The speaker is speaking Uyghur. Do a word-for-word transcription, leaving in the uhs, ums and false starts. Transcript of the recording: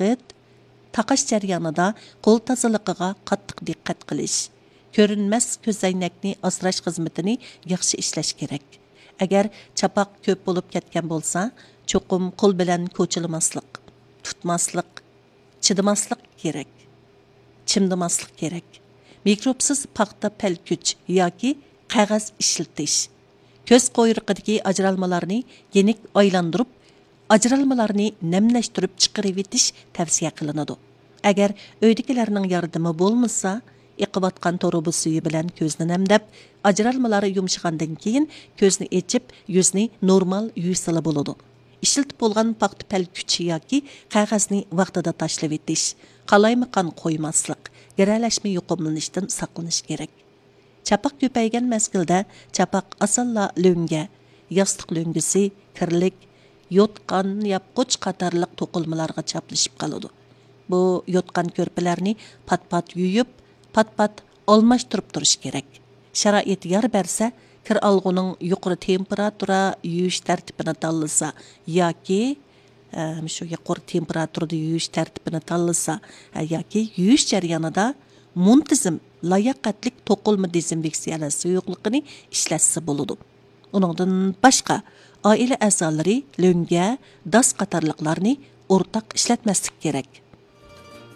ۋاقىت، تاقاش جەريانىدا قول تازىلىقىغا قاتتىق دىققەت قىلىش، كۆرۈنمەس كۆزەينەكنى ئاسراش خىزمىتىنى ياخشى ئىشلەش كېرەك. ئەگەر چاپاق كۆپ بولۇپ كەتكەن بولسا، چوقۇم قول بىلەن كوچىلىماسلىق، تۇتماسلىق، چىدىماسلىق كېرەك. چىمدىماسلىق كېرەك. مىكروبسىز پاختا پەلكۈچ ياكى قەغەز ئىشلىتىش. كۆز قۇيرۇقىدىكى ئاجرالمىلارنى يېنىك ئايلاندۇرۇپ، ئاجرالمىلارنى نەملەشتۈرۈپ چىقىرىۋېتىش تەۋسىيە قىلىنىدۇ. ئەگەر ئۆيدىكىلەرنىڭ ياردىمى بولمىسا، ئېقىۋاتقان تۇرۇبا سۈيى بىلەن كۆزنى نەمدەپ، ئاجرالمىلار يۇمشىغاندىن كېيىن كۆزنى ئېچىپ، يۈزنى نورمال يۇيسىلا بولىدۇ. ئىشلىتىپ بولغان پاختا پەلكۈچ ياكى قەغەزنى ۋاقتىدا تاشلىۋېتىش، قالايمىقان قويماسلىق، گىرەلەشمە يۇقۇملىنىشتىن ساقلىنىش كېرەك. چاپاق كۆپەيگەن مەزگىلدە چاپاق ئاسانلا لۆڭگە، ياستۇق لۆڭگىسى، كىرلىك، يوتقان، ياپقۇچ قاتارلىق توقۇلمىلارغا چاپلىشىپ قالىدۇ. بۇ يوتقان كۆرپىلەرنى پات-پات يۇيۇپ، پات-پات ئالماشتۇرۇپ تۇرۇش كېرەك. شارائىت يار بەرسە، كىر ئالغۇنىڭ يۇقىرى تېمپېراتۇرا يۇيۇش تەرتىپىنى تاللىسا ياكى، ئە، مۇشۇ يۇقىرى تېمپېراتۇرىدا يۇيۇش تەرتىپىنى تاللىسا، ئە، ياكى يۇيۇش جەريانىدا مۇنتىزىم، لاياقەتلىك توقۇلما دېزىنفېكسىيەلەش سۇيۇقلۇقىنى ئىشلەتسە بولىدۇ. ئۇنىڭدىن باشقا، ئائىلە ئەزالىرى لۆڭگە، داس قاتارلىقلارنى ئورتاق ئىشلەتمەسلىك كېرەك.